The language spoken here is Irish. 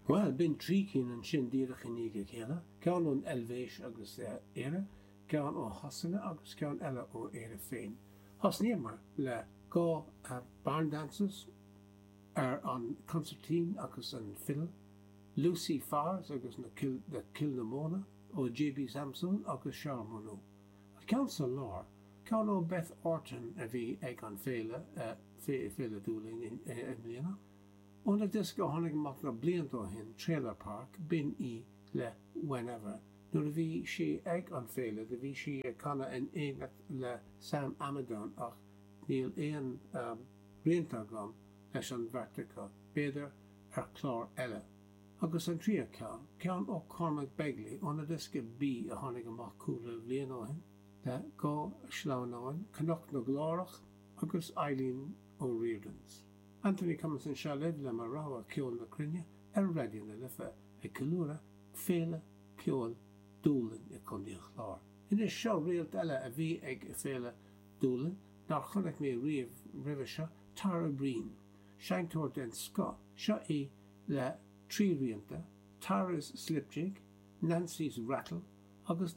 Bhuel, b'in trí cinn ansin díreach i ndiaidh a chéile, ceann ón Eilvéis agus Éire, ceann ó Shasana agus ceann eile ó Éire féin. Thosnaíomar le dhá Barn Dances ar an consairtín agus an fidil, Lucy Farrs agus na Kilnamona ó JB Samson agus Charles Monot. An ceann sa lár, ceann ó Beth Orton a bhí ag an féile, Féile Dúlainn i mbliana. Óna diosca a tháinig amach na blianta ó shin, Trailer Park, b'in í le Whenever. Nuair a bhí sí ag an féile do bhí sí ag canadh in éineacht le Sam Amidon ach níl aon rianta agam leis an bheirt acu, b'fhéidir ar chlár eile. Agus an tríú ceann, ceann ó Cormac Begley óna diosca Bí a tháinig amach cúpla bhliain ó shin, le dhá shleamhnán, Cnoc na gClárach agus Eileen O'Riordan's. Anthony Cummins anseo libh le mo rogha ceol na cruinne ar Raidió na Life ag ceiliúradh Féile Ceoil Dúlainn i gContae an Chláir. Anois seo réalt eile a bhí ag Féile Dúlainn nár chonaic mé riamh roimhe seo, Tara Breen. Seinnteoir den scoth. Seo í le trí rianta, Tara's Slip Jig, Nancy's Rattle agus.